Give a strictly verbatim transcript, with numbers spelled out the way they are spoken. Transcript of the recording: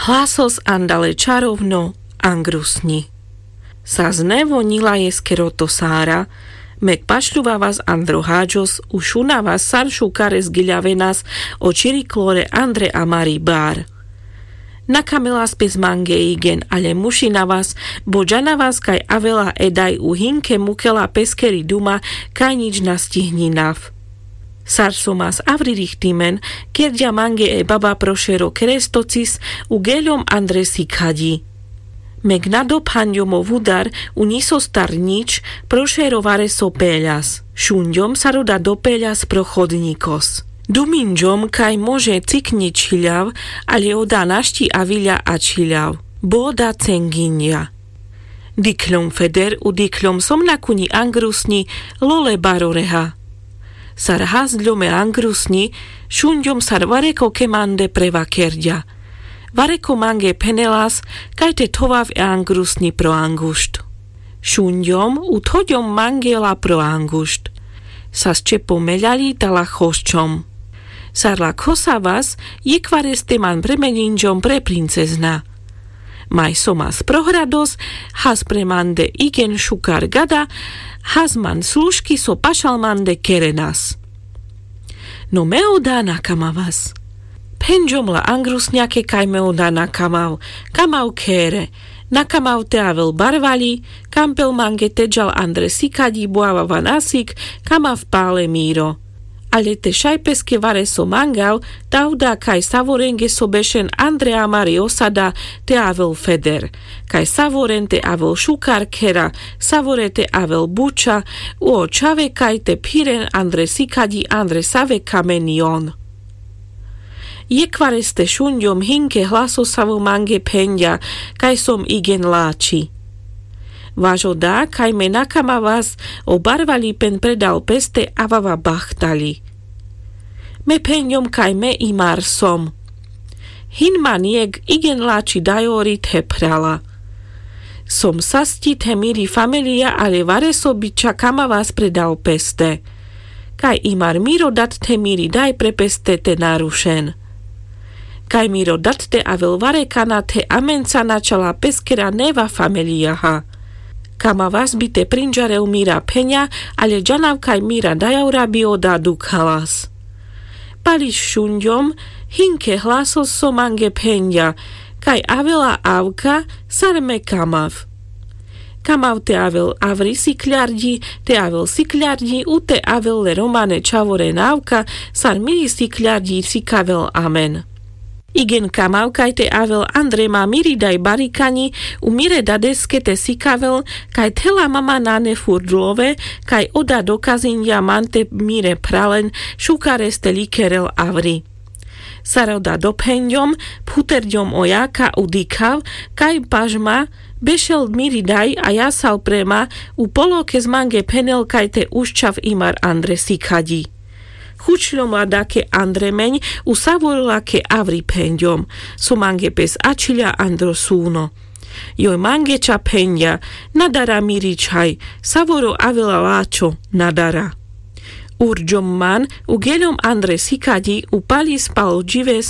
Hlasos andale čarovno angrusňi. Sas nevo ňila jeskero to sára. Mek pašľuvavas andro haďos, ušunavas sar šukares giľavenas o čiri klore andre amari bar. Nakamelas pes mange igen ale mušinavas, bo ďanavas kaj avela edaj u hinke mukela peskeri duma, kaj ňič na stihninav. Sar somas avri richtimen, kerďa mange e baba prošero kerestocis u geľom andre sikaďi. Mek na dophaňďom o vudar u ňisostar ňič, prošero vareso peľas šuňďom sar oda dopeľas pro chodňikos. Dumiňďom kaj može cikňi čhiľav, ale oda našti aviľa a čhiľav, bo oda cengiňďa. Dikhľom feder u dikhľom som na kuňi angrusňi, lole baroreha. Sar hasďom e angrusňi šuňďom sar vareko kemande prevakerďa. Vareko mange phenelas, kaj te thovav e angrusňi pro angušt. Šuňďom u thoďom mange la pro angušt. Sas čepo meľaľi tala chosčom. Sar la khosavas, jekhvareste man premeniňďom pre princezna. Maj somas prohrados, has pre mande igen šukar gada, has man služki so pašal mande kerenas. No me oda nakamavas. Phenďom la angrusňake kaj me oda nakamav. Kamav khere. Nakamav te avel barvaľi. Kampel mange te ďal andre sikaďi bo avava na sik. Kamav pale miro. Ale te šaj peske vareso mangav, ta oda kaj savorenge so bešen andre amari osada te avel feder. Kaj savoren te avel šukar khera, savore te avel buča, u o čhave kaj te phiren andre sikaďi andre save kamen jon. Jekhvareste šuňďom hinke hlasosavo mange phenďa, kaj som igen lačhi. Vaš oda kaj me nakamavas, o barvaľi phen predal peste avava bachtaľi. Me phenďom kaj me imar som. Hin man jekh igen lačhi dajori the phrala. Som sasťi the miri familija ale vareso biča kamavas predal peste. Kaj imar miro dat the miri daj pre peste te narušen. Kaj miro dat te avel varekana the amenca načala peskera neva familijaha. Kamavas bi te prinďarel mira pheňa, ale ďanav kaj mira dajora bi oda dukhalas. Pališ šuňďom, hinke hlasos so mange phenďa, kaj avela avka, sar me kamav. Kamav te avel avri sikľarďi, te avel sikľarďi u te avel le romane čhavore navka, sar miri sikľarďi sikavel amen. Igen kamav kaj te avel andre ma miri daj barikaňi, u mire dadeske te sikavel, kaj thela mama nane furt love, kaj oda dokaziňďa man te mire phralen šukareste likerel avri. Sar oda dophenďom, phuterďom o jaka u dikhav, kaj pažma bešel miri daj a jasal pre ma, u polokes mange phenel kaj te uščav imar andre sikaďi. Chučľom la dake andre meň, u savorela ke avri phenďom, so mange pes ačhiľa andro suno. Joj mange ča phenďa, na dara miri čhaj, savoro avela lačho, na dara. Urďom man u geľom andre sikaďi u paľi spal džives